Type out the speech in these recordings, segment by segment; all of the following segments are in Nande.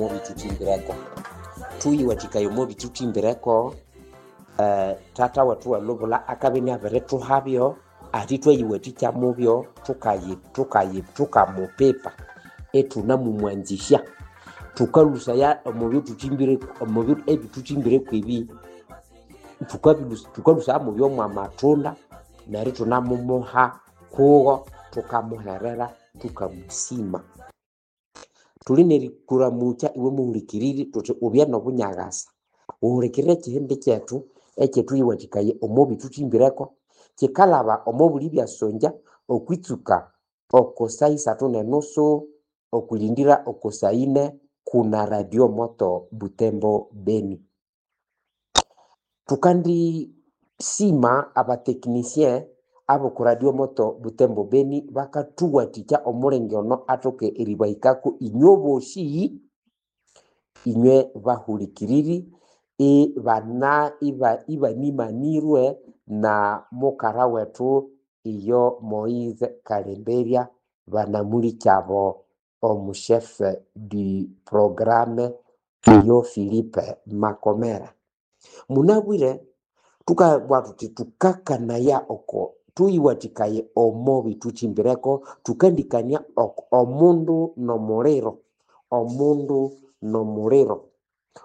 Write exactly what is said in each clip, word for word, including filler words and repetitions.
Mobithuthimbireko thuyiwathikaya omo bithuthimbireko eh, tata wethu welubula akabya iniabirithuhabyo ati thwayiwathikya mubyo thukayi thukayi thukamupipa ithunamumwanzisya thukalhusaya omo byethuthimbire omo ebithuthimbireko ebi thukabilhusa thukalhusaya mubyo mwamatunda neryo ithunamumuha kugho thukamuherera thukamusima. Thuli nerikuramukya iwe muhulikiriri thuthi ubye nobunyakasa wuhulikirire ekihindi kyethu ekyethuyiwathikaya omo bithuthimbireko kyikalhaba omo buli byasongya okwitsuka oko saha isathu nenusu okwilindira oko saha ine kuna Radio Moto Butembo Beni. Thukandisima abatechnicien aboko Radio Moto Butembo Beni bakathuwathikya omulenge ono athoke eribahikako inywe bosi inywe bahulikiriri ibana iba ibanimanirwe na mukara wethu iyo Moise Kalemberya banamulikyabo omu chef du programme iyo Philippe Makomera. Munabwire thukabugha thuthi thukakanaya oko thuyiwathikaye omo bithuthimbireko thukandikania oko omundu nomuliro omundu nomuliro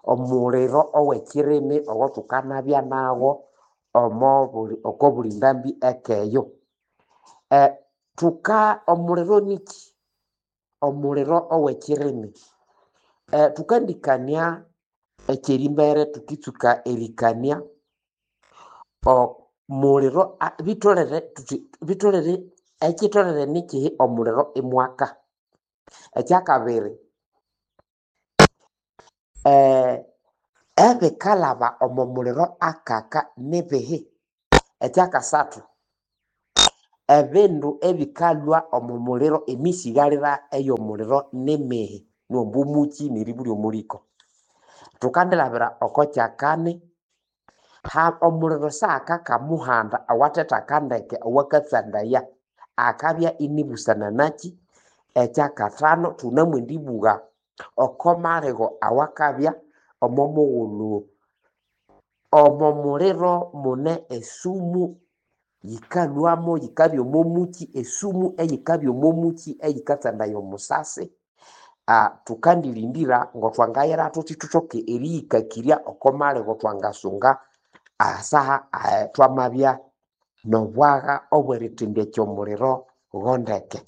omuliro owekyirimi owathukanabya nagho omo buli oko buli ndambi ekeyo. Eh, thuka omuliro niki? Omuliro owekyirimi eh, thukandikania ekyerimbere thukitsuka erikania omuliro bitholere thuthi bitholere ekyitholere nikihi omuliro imwaka. Ekyakabiri eh, ebikalhaba omo muliro akaka nibihi? Ekyakasathu ebindu ebikalhwa omo muliro emisighalira ey'omuliro nimihi? Niwamba omukyi neribulya omuliko. Thukandilhabira oko kyakani ha omuliro siakaka muhanda owathetaka ndeke owakatsandaya akabya inibusana naki. Ekyakathanu thunamwendibugha oko maligho awakabya omo mughulhu omo muliro mune esumu yikalhwamo yikabya omo mukyi esumu eyikabya omo mukyi eyikatsandaya omusasi. Ah, thukandilindira ngothwangayira thuthi thuthoke eriyikakirya oko maligho thwangasunga ahasaha thwamabya nobwagha obwerithendekya omuliro ghondeke.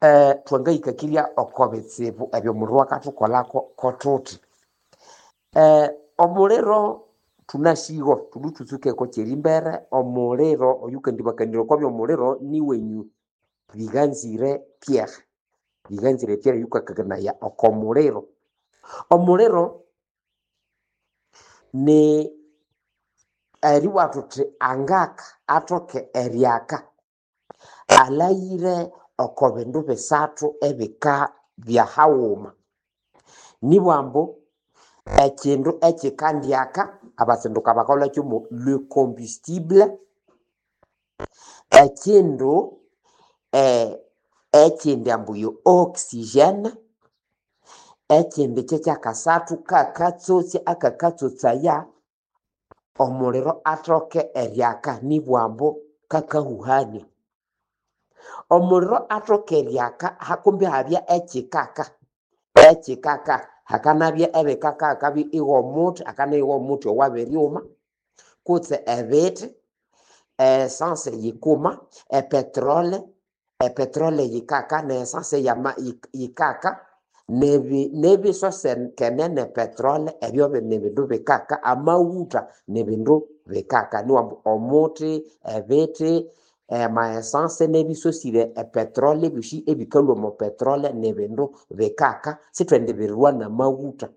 Eh, thwangayikakirya oko bitsibu ebyo omuliro akathukolako kothuthi. Eh, omuliro thunasigo thulwe thutsuke oko kyerimbere omuliro oyukandibakanirya oko byomuliro niwenyu Biganzire Pierre. Biganzire Pierre yukakakanaya oko muliro. Omuliro ni eribugha thuthi angaka athoke eryaka alhaghire oko bindu bisathu ebikabya haghuma. Nibugha ambu ekindu ekyikandyaka abatsinduka bakalhwakyo mo le combustible, ekindu eh, ekindi ambu yo oxygene, ekindi kyekyakasathu kakatsotsa akakatsotsaya omuliro athoke eryaka nibugha ambu kakahuhania. Omuliro athoke eryaka hakumbi ihabya ekyikaka ekyikaka hakanabya ebikaka hakabya ighomuthi hakanabya ighomuthi owabiryuma kutse ebithi essence yikuma epetrole epetrole yikaka ne essence yama yikaka nebi nebisosekene ne petrole ebyo nibindu bikaka amaghutha nibindu bikaka niwambu omuthi ebithi ama essence nebisosire epetrole ebyosi ebikalhwa omo petrole nibindu bikaka sithwendibirirwa namaghutha.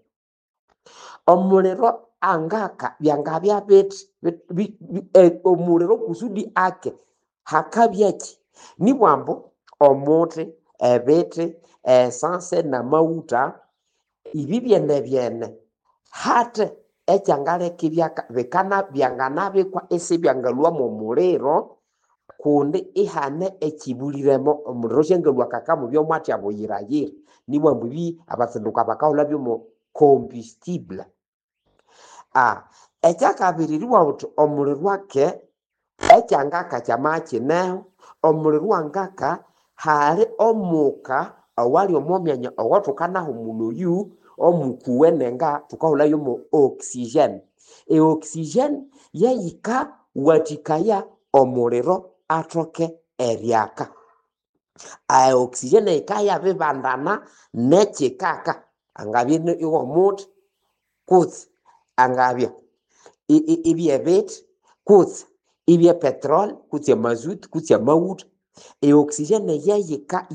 Omuliro angaka byangabya bithi bi- bi- omuliro kusudi ake hakabyaki? Nibugha ambu omuthi, ebithi, essence namaghutha ibi byenebyene hathe ekyangaleka ibyaka bikana byanganabikwa isibyangalhwa mwomuliro kundi ihane ekyibuliremo omuliro syangalhwa kaka mubya mwathya buyirayira. Nibwambu ebi abatsinduka bakahulha byomo combustible. Ah, ekyakabiri eribugha wuthi omuliro ake ekyangaka kyamabya kineho, omuliro wangaka hali omuka owali omo myanya owathukanahumulha oyu omukuwene nga thukahulhayo mo oxygen. E oxygen yeyikawathikaya omuliro athoke eryaka. E oxygen yikabya yabibandana nekyikaka angabya iwomuthi kutse angabya ibyebithi kutse ibye petrol kutse amazuti kutse amaghutha. E oxygen yeyika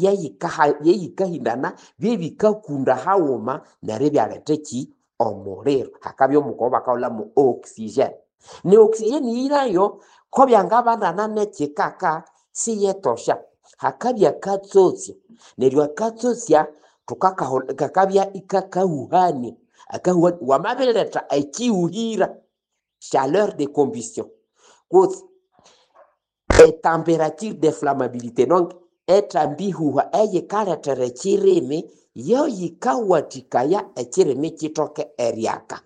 yeyikahindana byebikakunda haghuma neryo ibyaletha ekyi omuliro. Hakabya omuka owabakahulha mo oxygen. Ne oxygen eyi nayo kobyangabandana nekyikaka siyetosha. Hakabya akatsotsya neryo akatsotsya thukakahulha kakabya ikakahuhania akahuhania wamabiretha ekyihuhira chaleur de combustion kutse etemperature de flammabilité donc ethambihuha eyikalethera ekyirimi yoyikawathikaya ekyirimi kyithoke eryaka.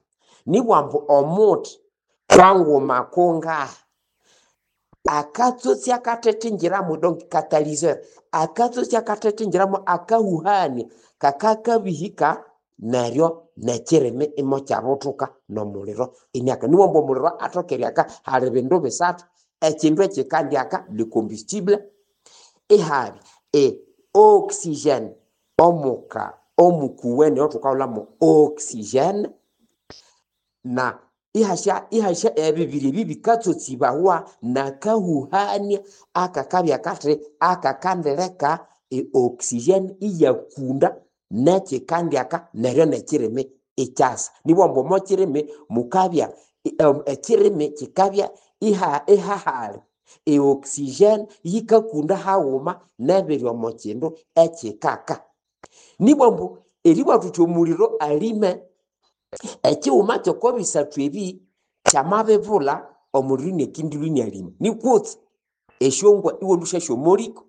Nibwambu omuthi kwanguma kungahi akatsotsya kathethinjiramu donc catalyseur akatsotsya kathethinjiramu akahuhania kakakabihika neryo nekyirimi imokyabuthuka nomuliro iniaka. Nibwambu omuliro athoke eryaka hali bindu bisathu ekyindu ekyikandyaka le combustible ihabya e oxygen omuka omukuwene owathukahulha mo oxygen na ihasya ihasya ebibiri ebi bikatsotsibawa nakahuhania akakabya kathi akakandileka e oxygen iyakunda nekyikandyaka neryo nekyirimi ikyasa. Nibwambu omo kyirimi mukabya ekyirimi kyikabya iha ihahali e oxygen yikakunda haghuma nebiri omo kyindu ekyikaka. Nibwambu eribugha thuthi omuliro alime ekighuma kyoko bisathu ebi kyamabibulha omuliro iniakindilhwa inialima nikutse esyongwa iwalhusya omwaliko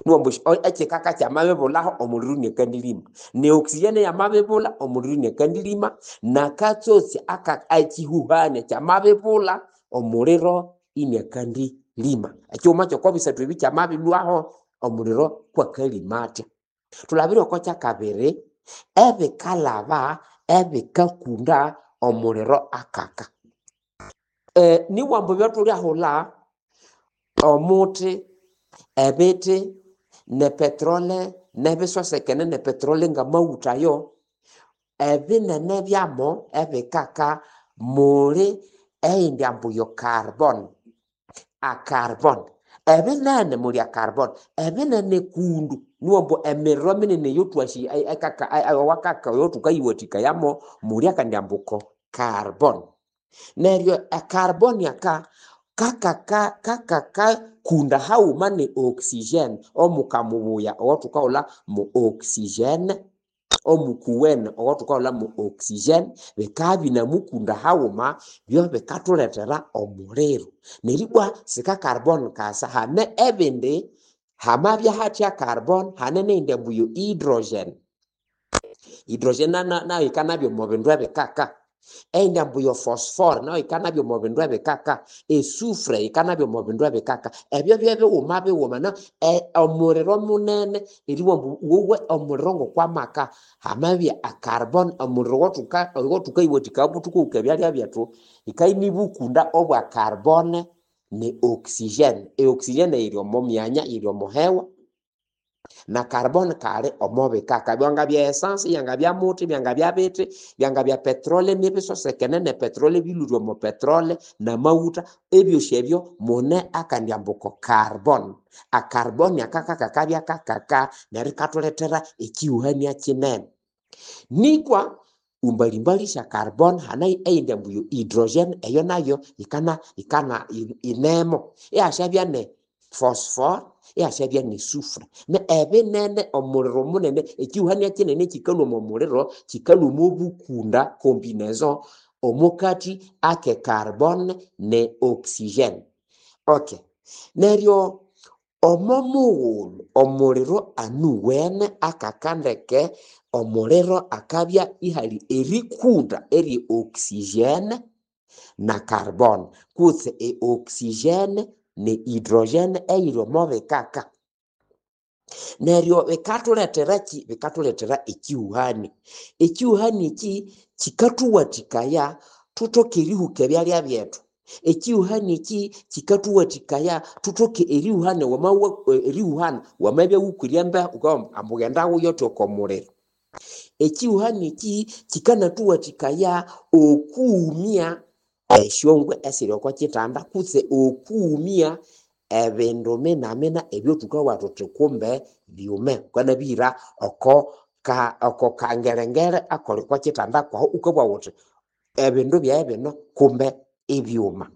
niwambu ekyikaka kyamabibulhaho omuliro iniakandilima ne oxygen yamabibulha omuliro iniakandilima nakatsotsi aka ekyihuhania kyamabibulha omuliro iniakandilima. Ekighuma kyoko bisathu ebi kyamabilhwaho omuliro kwakalima athya. Thulabire oko kyakabiri ebikalhaba ebikakunda omuliro akaka. E, nibwambu ebyathulhyahulha omuthi, ebithi, ne petrole, nebisosekene ne petrole ngamaghutha ayo, ebinene byamo ebikaka muli eyindi ambu yo carbon, a carbon. Ebinene muli a carbon, ebinene kundu niwambu emiriro minene eyothwasi ekaka owakaka oyothukayithikayamo muli akandi ambu ko carbon. Neryo e carbon aka kakaka kakakakunda haghuma ne oxygen omuka mubuya owathukahulha mo oxygen omukuwene owathukahulha mo oxygen bikabya binamukunda haghuma byobikathulethera omuliro. Neribwa sika carbon kasa hane ebindi hamabya hathya carbon hane neyindi ambu yo hydrogen. Hydrogen nayo yikanabya omo bindu ebikaka. Eyindi ambu yo phosphore nayo yikanabya omo bindu ebikaka. Esufre yikanabya omo bindu ebikaka. Ebyo byebighuma bighuma na omuliro munene eribugha ambu wowe omuliro ngokwamaka hamabya a carbon omuliro owathuka owathukayiwathikaya buthuku ebyalya byethu yikabya inibukunda obwa carbon ne oxygen. E oxygen yiri omo myanya yiri omo hewa na carbon kali omo bikaka byangabya essence byangabya muthi byangabya bithi byangabya petrole nibisosekene ne petrole bilhwire omo petrole namaghutha ebyosi ebyo mune akandi ambu ko carbon. A carbon aka kakabya kakaka neryo ikathulethera ekyihuhania kinene. Nikwa mbalimbali sya carbon hane eyindi ambu yo hydrogen eyo nayo yikana yikana inemo ihasyabya ne phosphore ihasyabya ne sufre. Ne ebinene omuliro munene ekyihuhania kinene ekikalhwa omo muliro kikalhwa omo bukunda combinaison omokathi ake carbon ne oxygen. Okay, neryo Omo mughulhu omuliro anuwene akakandeke omuliro akabya ihali erikunda erye oxygen na carbon kutse e oxygen ne hydrogen eyiri omo bikaka. Neryo bikathuletera ki? Bikathuletera ekyihuhani. Ekyihuhani eki kyikathuwathikaya thuthoke erihuka ebyalya byethu. Ekyihuhani eki kyikathuwathikaya thuthoke erihuhana wamawa erihuhana wamabya wukwire embeho wukabugha ambu ghenda wuyote oko muliro. Ekyihuhani eki kyikanathuwathikaya okughumya esyongwe esiri oko kyithanda kutse okughumya ebindu minamina ebyathukabugha thuthi kumbe byume. Wukanabihira oko ka oko kangerengere akali oko kyithanda kwahu wukabugha wuthi ebindu byaghe bino kumbe ibyuma.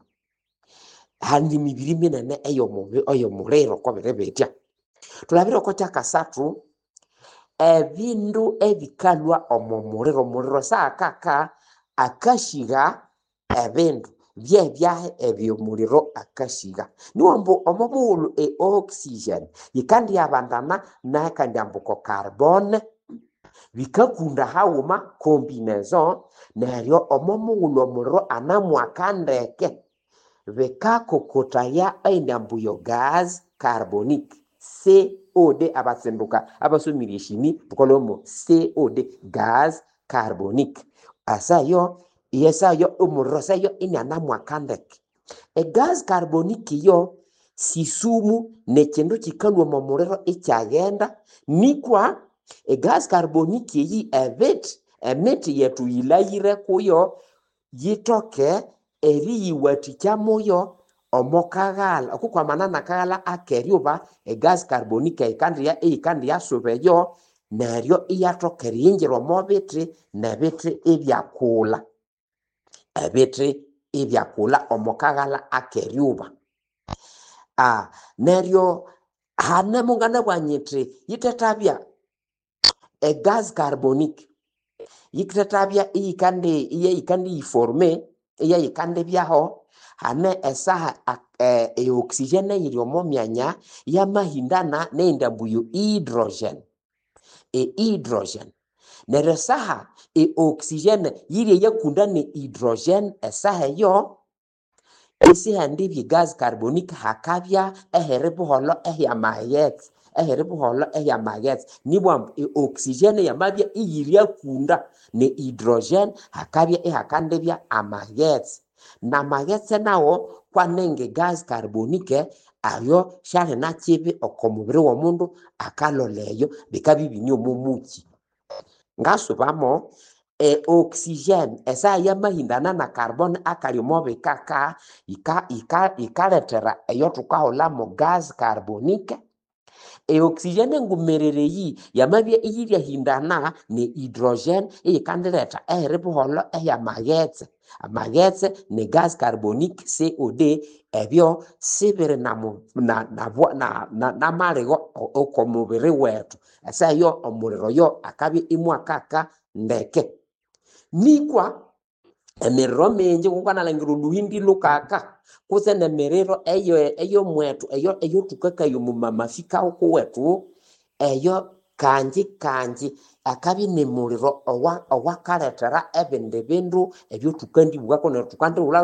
Hali emibiri minene eyomubi eyomuliro kobiri bitya. Thulabire oko kyakasathu, ebindu ebikalhwa omo muliro, omuliro saakaka akasigha ebindu byebyahi ebyomuliro akasigha. Niwo ambu omo mughulhu e oxygen yikandyabandana nakandi ambu ko carbon bikakunda haghuma combinaison neryo omo mughulhu omuliro anamwaka ndeke bikakokotaya eyindi ambu yo gas carbonic C O D abatsinduka abasomire eshimi thukalhwamo C O D gas carbonic asayo yesayo omuliro sayo inianamwaka ndeke. E gas carbonic iyo sisumu nekindu kikalhwa omo muliro ikyaghenda nikwa e gas carbonic eyi ebithi emithi yethu yilhaghire kuyo yithoke eriyiwathikya muyo omo kaghalha okukwamana nakaghalha akeryuba e gas carbonic eyikandiya eyikandiyasuba eyo neryo iyathoka eriyingira omo bithi nebithi ibyakulha ebithi ibyakulha omo kaghalha akeryuba. Ah, neryo hane munganabugha nyithi yithethabya e gas carbonic yithethabya iyikandi iyeyikandiyiforme iyeyikandibyaho hane esaha e oxygen eyiri omo myanya yamahindana neyindi ambu yo hydrogen e hydrogen neryo esaha e oxygen yiri eyakunda ne hydrogen esaha eyo isihendibya gas carbonic hakabya ehiri buholho ehyamaghetse ehiri buholho ehyamaghetse nibwa ambu e oxygen yamabya iyiriakunda ne hydrogen hakabya ihakandibya amaghetse namaghetse nawo kwanenge gas carbonic ayo syali nakibi oko mubiri womundu akalholha eyo bikabya ibine omo muki. Ngasubamo e oxygen esaha yamahindana na carbon akali omo bikaka yikalethera eyo thukahulhamu gas carbonic. E oxygen engumerere eyi yamabya iyiryahindana ne hydrogen eyikandiletha ehiri buholho ehyamaghetse. Amaghetse ne gas carbonic C O D ebyo sibiri namaligho oko mubiri wethu. Esaha eyo omuliro oyo akabya imwakaka ndeke. Nikwa emiriro mingi wukanalhangira olhuhindi lukaka kutse nemiriro eyo eyomwethu eyo eyothukakaya omu mamafika kuwethu eyo kangi kangi akabya nimuliro owa owakalethera ebindi bindu ebyothukandibugha neryo thukandighulha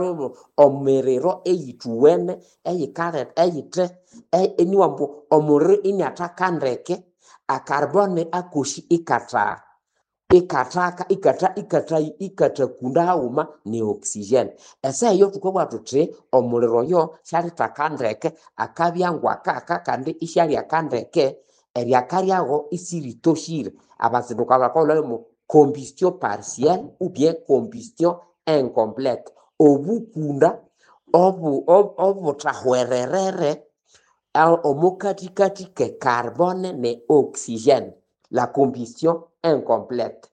omiriro eyithuwene eyikaletha eyithe iniwa ambu omuliro iniathaka ndeke a carbon akosi ikatha ikathaka ikatha ikatha ikathakunda haghuma ne oxygen. Esaha eyo thukabugha thuthi omuliro oyo syalithaka ndeke akabya ngwakaka kandi isyalyaka ndeke eryaka lyago isiritoshire. Abatsinduka bakahulhamu combustion partielle ou bien combustion incomplète. Obukunda obu obuthahwererere omo kathikathi ke carbone ne oxygène, la combustion incomplète.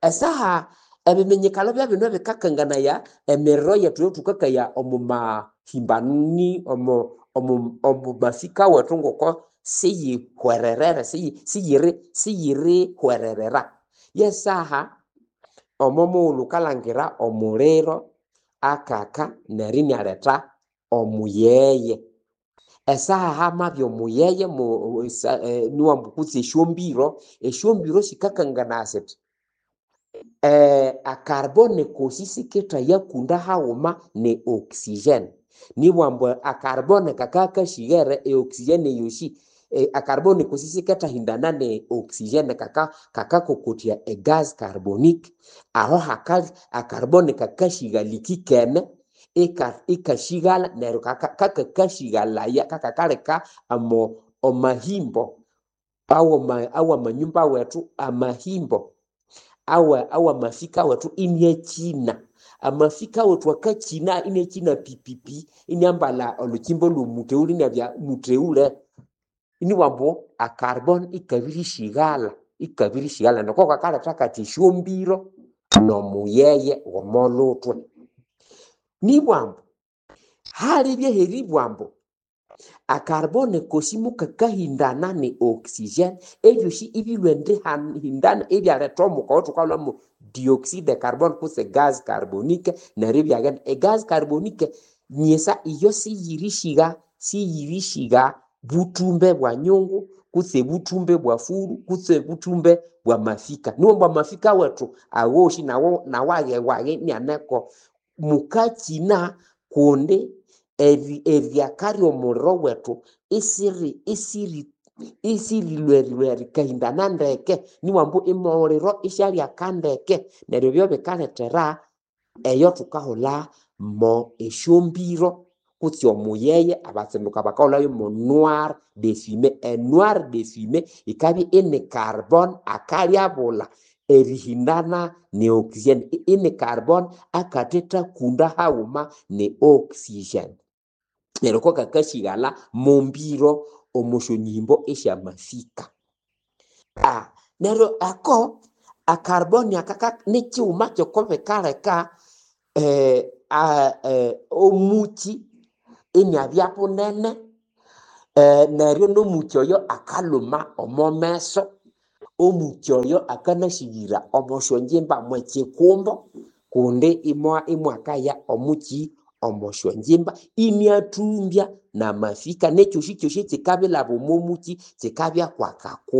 Esaha ebiminyikalo byabino ebikakanganaya emiriro yethu eyathukakaya omu mahimbani omu omu omu mafika wethu ngoko siyihwererere siyiri siyirihwererera. Yesaha omo mughulhu wukalhangira omuliro akaka neryo inialetha omuyeye. Esaha hamabya omuyeye niwambu kutse esyombiro, esyombiro sikakanganaya siti e carbone kosi sikethayakunda haghuma ne oxygene. Nibwambu e carbone kakabya kashighere e oxygene eyosi e carbone kosi sikethahindana ne oxygene kaka kakakokotya e gas carbonique. Aho haka e carbone kakashighala ikikene ikashighala neryo kakakashighalaya kakakaleka omo omahimbo awamanyumba wethu amahimbo awa awamafika wethu iniakyina. Amafika wethu akakyina iniakyina pipipi iniambalha olhukyimba lhwomutheghule iniabya mutheghule. Inibwambu e carbone ikabirishighalha ikabirishighalha neryo kokakaleka kathi esyombiro nomuyeye womolhuthwe. Nibwambu halibye heribwambu e carbone kosi mukakahindana ne oxygene ebyosi ibilhwa erihindana ibyaletha omuka oyothukaghulhamu dioxyde de carbone kutse gas carbonique neryo ibyaghenda. E gas carbonique nyisa iyo siyirishigha siyirishigha buthumbe bwa nyungu kutse buthumbe bwa furu kutse buthumbe bwa mafika. Niwambu amafika wethu awosi nawo nawaghe inianeko mukakyina kundi eri eryaka ly'omuliro wethu isiri isiri isirilwererwa erikahindana ndeke niwambu omuliro isyalyaka ndeke neryo ebyo bikalethera eyo thukahulha mo esyombiro kutse omuyeye abatsinduka bakahulhayo mo noir de fumée. E noir de fumée yikabya ini carbone akalyabulha erihindana ne oxygene ini carbone akathethakonda haghuma ne oxygene. Neryo kokakashighalha mombiro omo syonyihimbo esyamafika. Neryo ako e carbone aka nikighuma kyoko bikaleka omukyi iniabya bunene neryo nomukyi oyo akalhuma omo meso, omukyi oyo akanasyighira omo syongyimba mwekyikumbo kundi imwakaya omukyi omo syongyimba iniathumbya namafika nekyosikyoosi ekyikabilhaba omo mukyi kyikabya kwakakumbo.